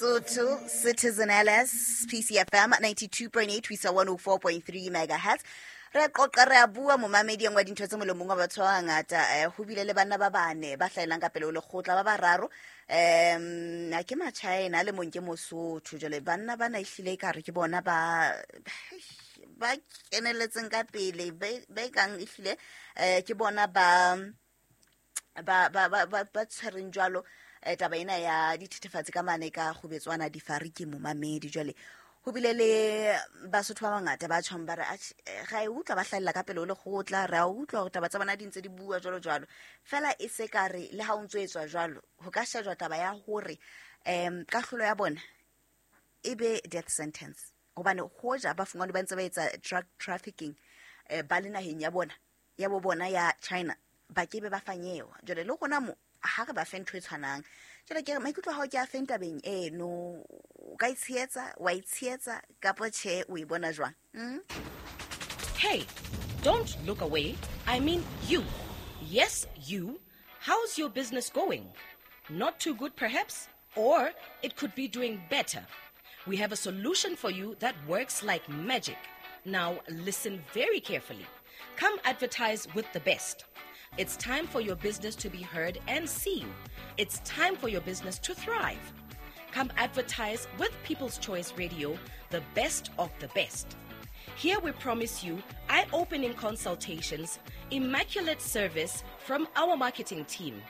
Sotho Citizen LS PCFM 92.8 ho isa 104.3 megahertz. Re a qoqa, re a bua, momamedi. Engwe dintho tse molomong wa batho ba bangata, ho bile le banna ba bane ba hlahelang ka pele ho lekgotla, ba bararo a ke Machina, a le mong ke Mosotho. Jwale banna bana ehlile e kare ke bona ba keneletseng ka pele, ba e kang ehlile ke bona ba tshwereng jwalo taba ena ya dithethefatsi ka mane ka kgubetswana difariki, momamedi. Jwale ho bile le Basotho ba bangata ba tjhong ba re, "Atjhe, ra e utlwa ba hlahella ka pele ho lekgotla, re a utlwa hore taba tsa bona di ntse di bua jwalo jwalo." Fela e se ka re le ha o ntso etswa jwalo, ho ka shejwa taba ya hore kahlolo ya bona e be death sentence, hobane hoja ba fungwane ba ntse ba etsa drug trafficking ba le naheng ya bona, ya bo bona ya China, ba ke be ba fanyewa. Jwale le rona mo ha re ba fe ntho e tshwanang. Jwale ke re, maikutlo a hao ke a feng tabeng eno? O ka itshehetsa, wa itshehetsa kapo tjhe? O e bona jwang? Hey, don't look away. I mean you. Yes, you. How's your business going? Not too good, perhaps? Or it could be doing better. We have a solution for you that works like magic. Now, listen very carefully. Come advertise with the best. It's time for your business to be heard and seen. It's time for your business to thrive. Come advertise with People's Choice Radio, the best of the best. Here we promise you eye opening consultations, immaculate service from our marketing team.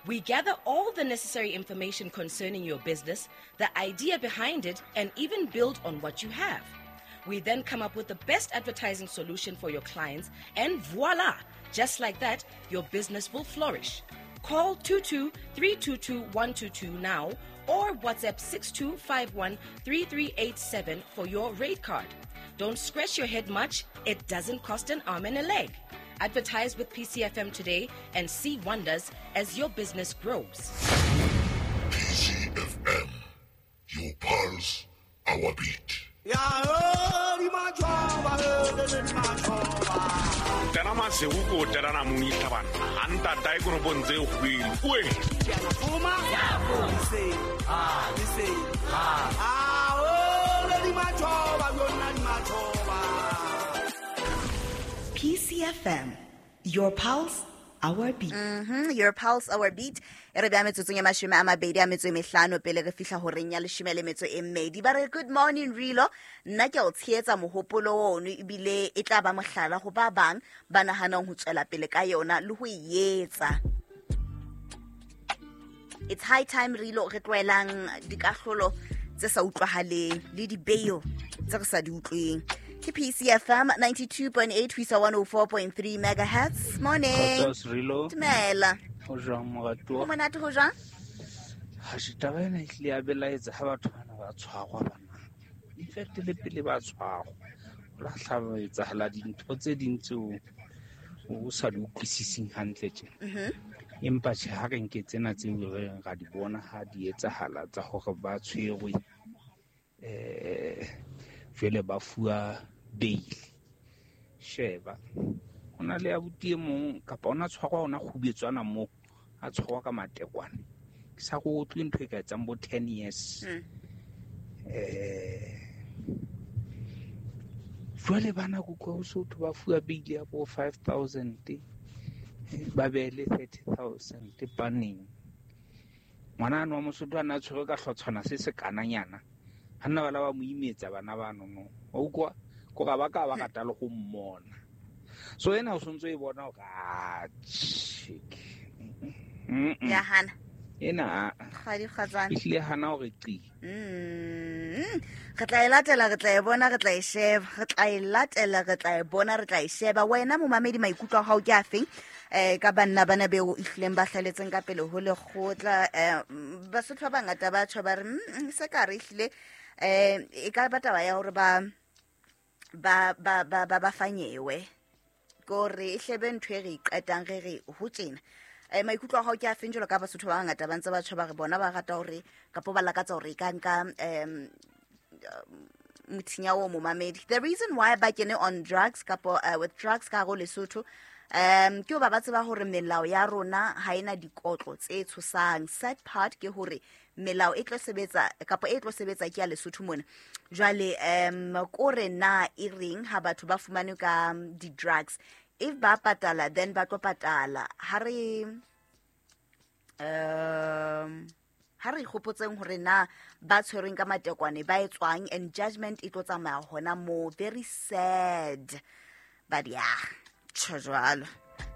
We gather all the necessary information concerning your business, the idea behind it, and even build on what you have. We then come up with the best advertising solution for your clients, and voila! Just like that, your business will flourish. Call 22 322 122 now or WhatsApp 6251 3387 for your rate card. Don't scratch your head much, it doesn't cost an arm and a leg. Advertise with PCFM today and see wonders as your business grows. PCFM, your pulse, our beat. Tena masego ko terana mong itlhabana a ntata e koropong tse kgwele oe. PCFM, your pulse, our beat. Your pulse, our beat. E re bea metsotsong e 25 pele re fihla horeng ya 12. Ba re, "Good morning, Rilo. Nna ke a o tshehetsa mohopolo ono, ebile e tla ba mohlala ho ba bang ba nahanang ho tswela pele ka yona le ho e etsa. It's high time, Rilo, re tlohelang dikahlolo tse sa utlwahaleng le di-bail tse re sa di utlweng." Ke PCFM 92.8 ho isa 104.3 megahertz. Morning. Kgotso, Rilo. Dumela. Ho jwang, moratuwa? Ho monate, ho jwang? Hashe, taba ena e hlile ya belaetsa ha batho bana ba tshwarwa bana. In fact, le pele ba tshwarwa, ho la hlaba etsahala dintho tse ding tseo o sa di utlwisising hantle tjena. Empa tjhe, ha re nke tsena tseo re reng ra di bona ha di etsahala tsa hore ba tshwerwe, jwale ba fuwa bail. Sheba, ho na le abuti e mong kapa ona tshwarwa ona kgubetswana moo, a tshwarwa ka matekwane. Ke sa go utlwe ntho e ka etsang bo 10 years. Jwale bana ko kwa Sotho ba fuwa bail ya bo 5000, ba beele 30,000 paneng. Ngwana ano wa Mosotho a na tshwerwe ka hlotshwana se se kananyana. Ha nna bana ba mo imetsa bana ba no no. Wa utlwa? Ko ga ba ka ba rata le go mmona. So ena o sontso e bona hore, ah, chick. Ya hana. Ena, Kgadi, kgatsana. E hlile hana hore qi. Re tla e latela, re tla e bona, re tla e sheba. Re tla e latela, re tla e bona, re tla e sheba. Wena momamedi, maikutlo a hao ke a feng? Ka banna bana beo ehlileng ba hlaletseng ka pele ho lekgotla, Basotho ba bangata ba tjho ba re, se ka re ehlile, e ka ba taba ya hore ba fanyewe. Kore e hlebe ntho e re e qetang re re ho tjena. Maikutlo a hao ke a feng jwalo ka Basotho ba bangata ba ntse ba tjho ba re bona ba rata hore kapo ba lakatsa hore e ka nka mothinya o, momamedi. The reason why ba kene on drugs kapo with drugs ka hare ho Lesotho, Ke hoba ba tseba hore melao ya rona ha ena dikotlo tse tshosang. Sad part ke hore melao e tlo sebetsa kapa e tlo sebetsa ke ya Lesotho mona. Jwale kore na e reng ha batho ba fumanwe ka di-drugs, if ba patala then ba tlo patala. Ha re ikgopotseng hore na ba tshwerweng ka matekwane ba etswang and judgment e tlo tsamaya hona moo. Very sad, but yeah, tjho jwalo.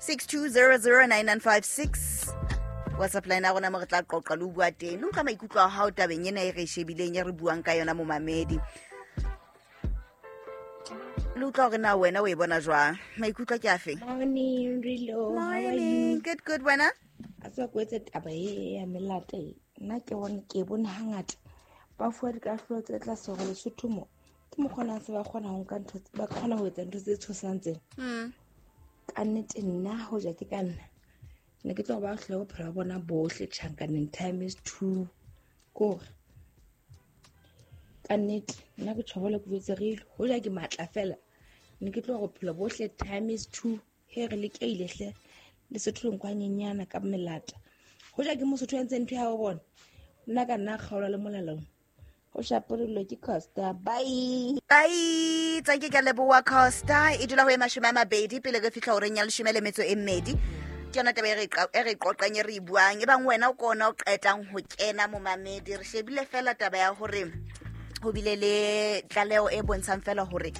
62009956 WhatsApp line ya rona mo re tla qoqa le ho bua teng le utlwa maikutlo a hao tabeng ena e re e shebileng, e re buang ka yona, momamedi. Le utlwa hore na wena o e bona jwang, maikutlo ke afe? Morning, Rilo. How are Morning. you? Good, good, wena? A tseba ko etse taba e ya melata e. Nna ke bone, ke e bone hangata ba fuwa dikahlolo tse tlase hore Lesotho mo ke mokgona se ba kgona ho nka ntho, ba kgona ho etsa ntho tse tshosang tsena. Ka nnete nna hoja ke ka nna, ne ke tlo ba hlole bophelo ba bona bohle tjhankaneng times two. Kore ka nnete nna ke tjho bole ke jwetse Rilo, hoja ke matla fela ne ke tlo bophelo bohle times two. He re lekeile hle Lesotho le nkwa nyenyana ka melata. Hoja ke Mosotho ya entseng ntho ya ho bona, nna ka nna kgaolwa le molalong ho shapolelo ke Costa. Bye. Bye, tsanke ke a leboha, Costa. E dula ho e 20 pele re fihla horeng ya 12. Ke yona taba e re qoqang, e re e buang. E bang wena o kona o qetang ho kena, momamedi, re shebile fela taba ya hore ho bile le tlaleho e bontshang fela hore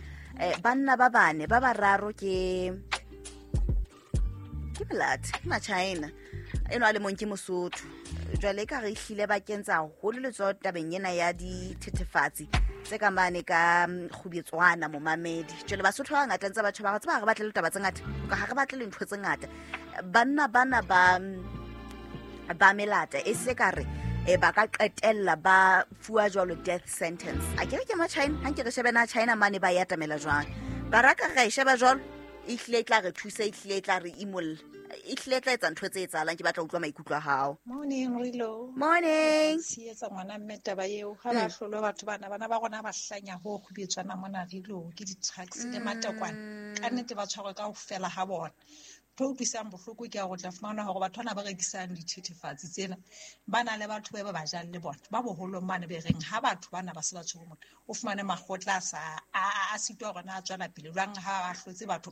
banna ba bane, ba bararo ke melate, ke Machina eno, a le mong ke Mosotho. Jwale e ka re ehlile ba kentse haholo letsoho tabeng ena ya dithethefatsi tse ka mane ka kgubetswana, momamedi. Jwale Basotho ba bangata ntse batho ba tseba ha re batle le taba tse ngata, ka ha re batle le ntho tse ngata. Banna bana ba melata e se ka re ba ka qetella ba fuwa jwalo death sentence. A ke re ke Machina, ha nke re shebe na China mane ba e atamela jwang. Baraka ra e sheba jwalo, e hlile e tla re thusa, e hlile e tla re imolla, e hlile e tla etsa ntho tse etsahalang. Ke batla ho utlwa maikutlo a hao. Morning, Rilo. Morning. Tshehetsa ngwana mme taba eo ha ba hlolwe batho bana, bana ba rona ba hlanya ho kgubetswana mona, Rilo, ke di-drugs le matekwane. Ka nnete ba tshwarwe ka ho fela ha bona. Ntho e utlwisang bohloko ke ya hore o tla fumana hore batho bana ba rekisang dithethefatsi tsena ba na le batho ba ba jang le bona ba boholong mane, be reng ha batho bana ba se ba tshwere mona, o fumane makgotla a sa a sitwa hore na a tswela pele jwang ha ba hlotse batho.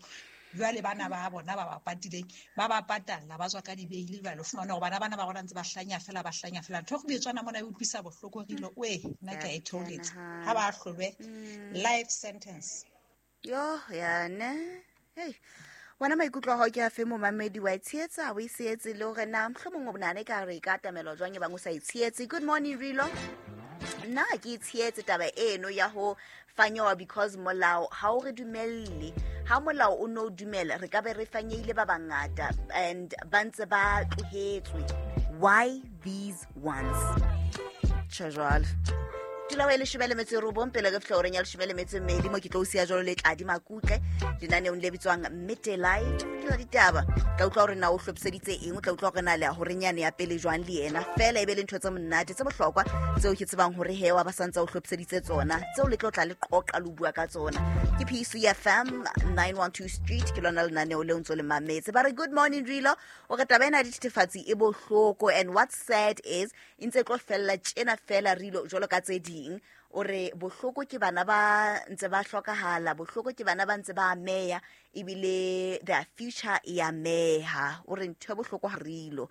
Jwale bana ba bona ba ba patileng, ba ba patalla, ba tswa ka dibeile. Jwale o fumane hore bana bana ba rona ntse ba hlanya fela, ba hlanya fela. Ntho e kgubetswana mona e utlwisa bohloko, Rilo. Oe, nna ke a e theoletsa, ha ba hlolwe life sentence. Yo yane, hei wena, maikutlo a hao ke a fe, momamedi? Wa e tshehetsa, o e sehetse, le hore na mohlomong o bonane ka re e ka atamelwa jwang e bang o sa e tshehetse? Good morning, Rilo. Nna ha ke e tshehetse taba eno ya ho fanyewa because molao ha o re dumelle. Ha molao o no dumela, re ka be re fanyeile ba bangata and ba ntse ba tlohetswe. Why these ones? Tjho jwalo. Dula ho e 19 pele re fihla horeng ya 12, mo ke tlo o siya jwalo le Tladi Makutle lenaneong le bitswang Midday Live, ke la ditaba. Tla utlwa hore na o hlophiseditse eng, o tla utlwa hore na le ya horenyane ya pele jwang le yena. Fela e be le ntho tse monate, tse bohlokwa tseo ke tsebang hore he wa ba santse o hlophiseditse tsona, tseo le tlo tla le qoqa le bua ka tsona. Ke PCFM 912 Street, ke lona lenaneo leo ntso le mametse. Ba re good morning, Rilo. O re taba ena ya dithethefatsi e bohloko and what's sad is e ntse e tlo fella tjena fela, Rilo, jwalo ka tse ding. O re bohloko ke bana ba ntse ba hlokahala, bohloko ke bana ba ntse ba ameya, ebile their future e ameha. O re ntho e bohloko ha, Rilo.